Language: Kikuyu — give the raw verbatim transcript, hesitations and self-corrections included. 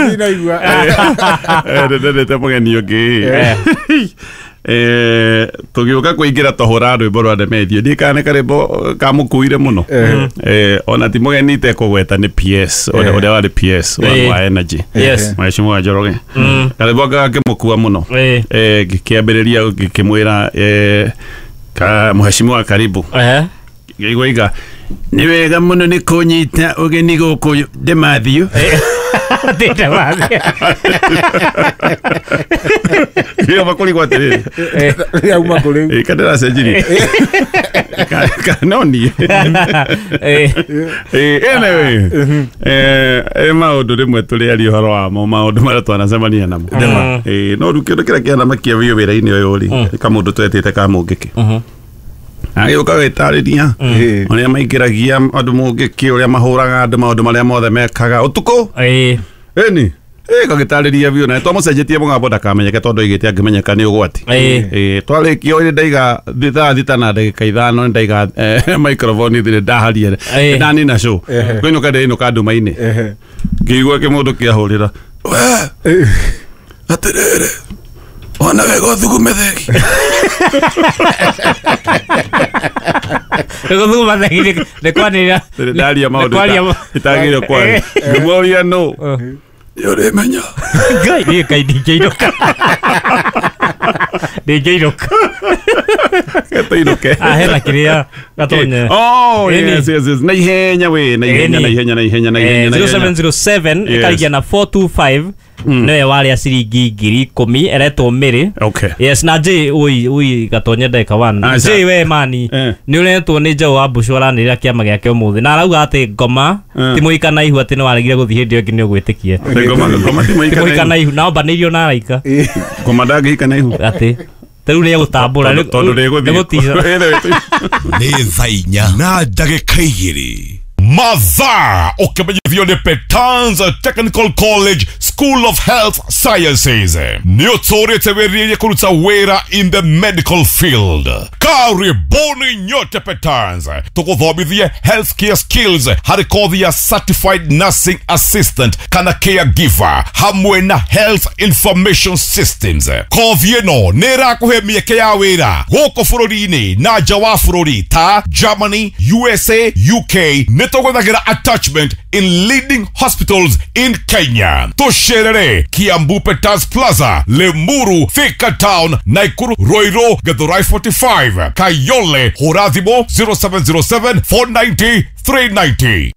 Ndinaigua. Ndendete mũgeni ũngĩ. Eh, tũgĩũka kũingĩra tũhũra rwĩmbo rwa Ndemethio, ndiĩ kana nĩ karĩmbo kamũkuire mũno. Eh, ona ti mũgeni itekũgweta nĩ P S ũrĩa ũrĩa warĩ P S wa Eh. wa Energy, Yes. Mheshimiwa Njoroge. Karĩmbo gakĩmũkua mũno. Eh. Eh, ngĩkĩambĩrĩria ngĩkĩmwĩra, eh, ka mheshimiwa, karibu. Eh. Ngĩigua iga nĩ wega mũno nĩ kũnyita ũgeni gũkũ Ndemathew. Ndĩte mathi. Ngĩamba kũrigwo atĩrĩrĩ, Rĩauma kũ rĩu? ĩ kandĩracenjirie. Ka- ka- no niĩ. Eh. Eh, anyway, eh, eh, maũndũ rĩmwe tũrĩaria ũhoro wamo, maũndũ marĩa twanacemania namo. Eh, no rĩu kĩndũ kĩrĩa kĩanamakia biũ wĩra-inĩ ũyũ rĩ, nĩ kamũndũ twetĩte ka mũngĩkĩ, agĩũka gwĩtarĩria Eh. ũrĩa maingĩragia andũ mũngĩkĩ, ũrĩa mahũraga andũ, maũndũ marĩa mothe mekaga ũtukũ. Eh. Ĩni ĩ gagĩtarĩria biũ na twamũcenjetie mũgambo ndakamenyeke, tondũ aigĩte angĩmenyeka nĩ ũgwati. Eh. Ĩ twarĩkia ũrĩ ndaiga thaa thita na ndagĩka ithano, ndaiga eh, microphone thĩ ndaharia. Eh. Ndanina show, kũinũka ndĩinũka nduma-inĩ, Ehe. ngĩigua kĩmũndũ kĩahũrĩra, we atĩrĩrĩ, ona wega ũthugume thegi. Nĩgũthuguma thegi nĩ- nĩ kwanĩrĩra. Ndaria maũndũ Nĩ kwaria ma- itagĩrĩire kwaria. Ngĩmũria, no nĩ ũrĩmenya. Ngai, niĩ Ngai ndingĩinũka. Ndingĩinũka. Tũinũke. Ah, hena kĩrĩa gatonye. Oh, Ĩni. yes, yes, yes. Na ihenya we, na ihenya, Ĩni. na ihenya, na ihenya, na ihenya, na ihenya. zero seven zero seven Yes. ĩkarigia na four two five nĩwe warĩa ciringi ngiri ikũmi, eretwo Mĩrĩ. Okay. Yes, na J ui ui gatonye ndagĩka one. Aca. J we mani, Eh. nĩ ũretwo nĩ Njaũ wa Mbũcũ, aranĩrĩra kĩama gĩake ũmũthĩ na arauga atĩ ngoma Eh. ti mũika na ihu, atĩ nĩ waregire gũthiĩ hĩndĩ ĩyo ĩngĩ nĩ ũgwĩtĩkie. Ngoma ngoma ti Ti mũika mũika na na ihu na ombanĩirio na araika. Ngoma ndangĩhika na ihu. Atĩ rĩu nĩ egũtambũra. Tondũ tondũ ndĩgũthiĩ. Nĩ gũtica. Nĩ thaa inya na ndagĩka igĩrĩ mathaa, ũkĩmenyithio nĩ Petans Technical College School of Health Sciences. Nĩ ũtũrĩte wĩrirĩrie kũruta wĩra in the medical field? Karibuni nyote Petans, tũgũthomithie healthcare skills harĩ kothi ya certified nursing assistant kana caregiver hamwe na health information systems. Kothi ĩno nĩ ĩrakũhe mĩeke ya wĩra gũkũ bũrũri-inĩ na nja wa bũrũri ta Germany, U S A, U K. Nĩ tũgwethagĩra attachment in leading hospitals in Kenya. Tũcerere Kiambu Peters Plaza, Limuru, Thika Town, Naikuru, Ruiru, Githurai forty-five, Kayole. Hũra thimũ zero seven zero seven four nine zero three nine zero.